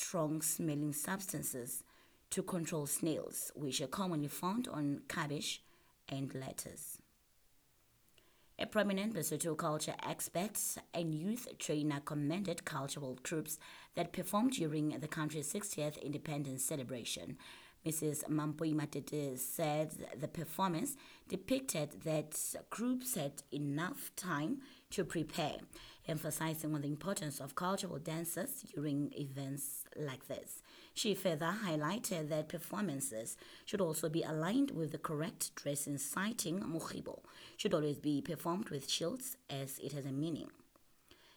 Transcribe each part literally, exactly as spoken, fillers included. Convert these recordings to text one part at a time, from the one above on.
strong-smelling substances to control snails, which are commonly found on cabbage and lettuce. A prominent Lesotho culture expert and youth trainer commended cultural groups that performed during the country's sixtieth independence celebration. Missus Mampoi Matete said the performance depicted that groups had enough time to prepare, emphasizing on the importance of cultural dances during events like this. She further highlighted that performances should also be aligned with the correct dressing, citing Mokgibo should always be performed with shields as it has a meaning.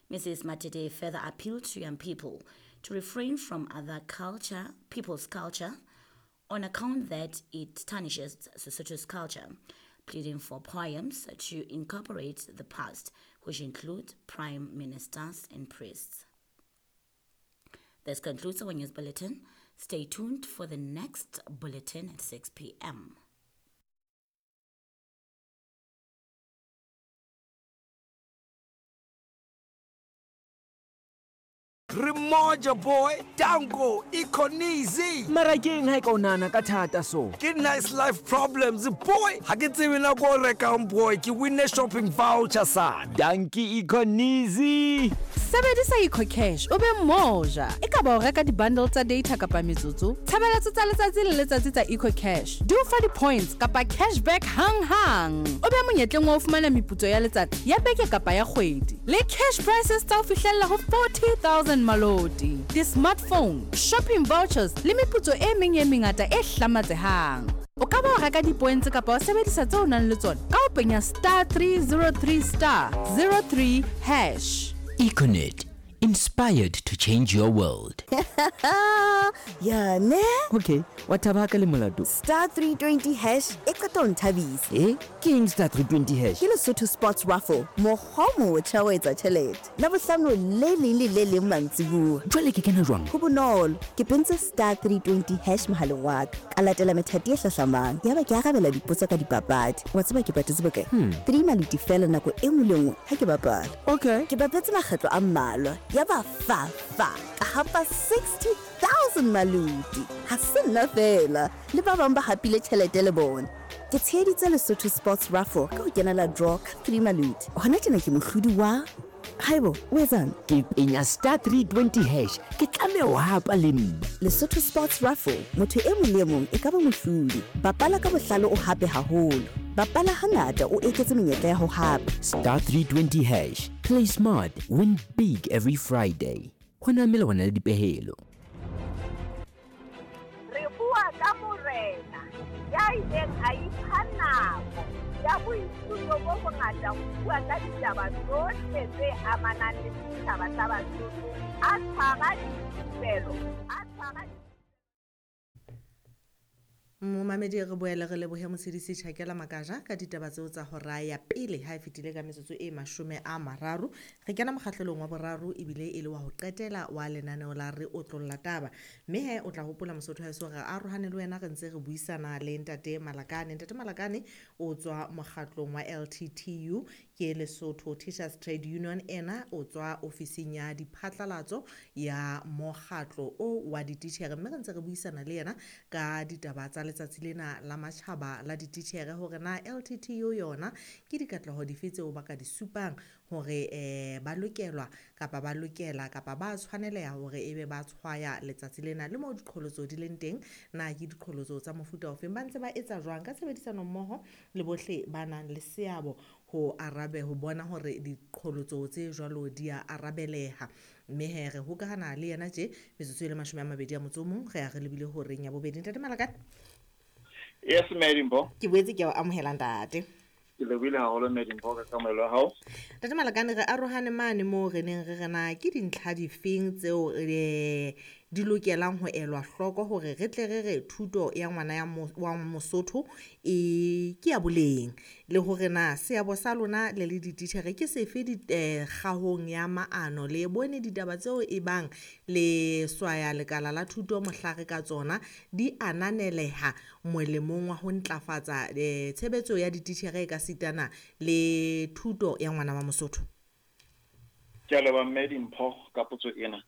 Missus Matete further appealed to young people to refrain from other culture, people's culture, on account that it tarnishes Sesotho's culture, pleading for poems to incorporate the past, which include prime ministers and priests. This concludes our news bulletin. Stay tuned for the next bulletin at six p m Remoja boy, Dango, Iconizi. Mara keng ha e ka o nahana ka thata so? Ke nice life problems boy. Ha ke tsebe nako o rekang boy, ke winne shopping voucher sa. Danki Iconizi. Sebedisa EcoCash o be moja. E ka ba o reka di-bundle tsa data kapa metsotso. Tshebeletso tsa letsatsi le letsatsi tsa EcoCash di o fa di-points kapa cashback hang-hang. O be monyetleng wa ho fumana meputso ya letsatsi, ya beke kapa ya kgwedi. Le cash prices tsa ho fihlella ho forty thousand maloti. Di-smartphone, shopping vouchers le meputso e meng e mengata e hlamatsehang. O ka ba wa reka di-points kapa wa sebedisa tseo o nang le tsona ka ho penya star three zero three star zero three hash. Econet, inspired to change your world. Yeah, ne? Okay, what about ka le molato? Star three twenty hash e qeta ho nthabisa. Eh? Ke eng star three twenty hash? Ke Lesotho Sports Raffle, mokgwa o motjha wa etsa tjhelete. Labohlano le leng le le leng mantsibuya. Jwale ke kena jwang? Ho bonolo, ke pentse star three twenty hash mohaleng wa ka. Ka latela methati e hlahlamang. Yaba ke arabela dipotso ka dipapadi. Wa tseba ke patetse bokae? Hmm. Three maluti fela nako e nngwe le nngwe ha ke bapala. Okay. Ke bapetse makgetlo a mmalwa. Yaba fa fa ka hapa sixty thousand maluti. Ha se nna fela, le ba bang ba hapile tjhelete le bona. Ke tsheheditse Lesotho Sports Raffle ka ho kenela draw ka three maluti. Hona tjena ke mohlodi wa Haibo, o etsang? Ke penya star three twenty hash, ke tlameha ho hapa le nna. Lesotho Sports Raffle, motho e mong le e mong e ka ba mohlodi. Bapala ka bohlale o hape haholo. Bapala hangata o eketse menyetla ya ho hapa. Star three twenty hash, play smart, win big every Friday. Ho na melawana le dipehelo. Re bua ka morena ya ileng a ipha nako ya boithuto bo bongata ho bua ka ditaba tsohle tse amanang le setjhaba sa Basotho, a tshwara dithupelo, a tshwara Momamedi re boele re lebohe Motshedisi Tjhakela Makaja ka ditaba tseo tsa hora ya pele ha e fetile ka metsotso e mashome a mararo. Re kena mokgahlelong wa boraro ebile e le wa ho qetela wa lenaneo la Re Otlolla Taba. Mme he o tla hopola Mosotho haeso re arohane le wena re ntse re buisana le Ntate Malakane. Ntate Malakane o tswa mokgatlong wa L T T U ke Lesotho Teachers Trade Union, ena o tswa ofising ya diphatlalatso ya mokgatlo o wa dititjhere. Mme re ntse re buisana le yena ka ditaba tsa letsatsi lena la matjhaba la dititjhere hore na L T T U yona ke dikatleho dife tseo ba ka di supang hore, eh, ba lokelwa kapa ba lokela kapa ba tshwaneleha hore ebe ba tshwaya letsatsi lena le moo diqholotso di leng teng, na ke diqholotso tsa mofuta ofeng, ba ntse ba etsa jwang ka tshebedisano mmoho le bohle ba nang le seabo ho arabe ho bona hore diqholotso tse jwalo di a arabeleha. Mme he re hokahana le yena tje metsotso e le mashome a mabedi a motso o mong, re a re lebile horeng ya bobedi. Ntate Malakane. Yes, Madimbo. Ke boetse ke a o amohela ntate. Ke lebohile haholo Madimbo ka kamohelo ya hao. Ntate Malakane, re arohane mane moo re neng re re na ke dintlha difeng tseo re di lokelang ho elwa hloko hore re tle re re thuto ya ngwana ya mo-, wa Mosotho e ke ya boleng, le hore na seabo sa lona le le dititjhere ke sefe di, eh, kgahong ya maano, le bone ditaba tseo e bang le swaya lekala la thuto mohlare ka tsona di ananeleha molemong wa ho ntlafatsa, eh, tshebetso ya dititjhere e ka sitana le thuto ya ngwana wa Mosotho. Ke a leboha Mme Dimpho ka potso ena.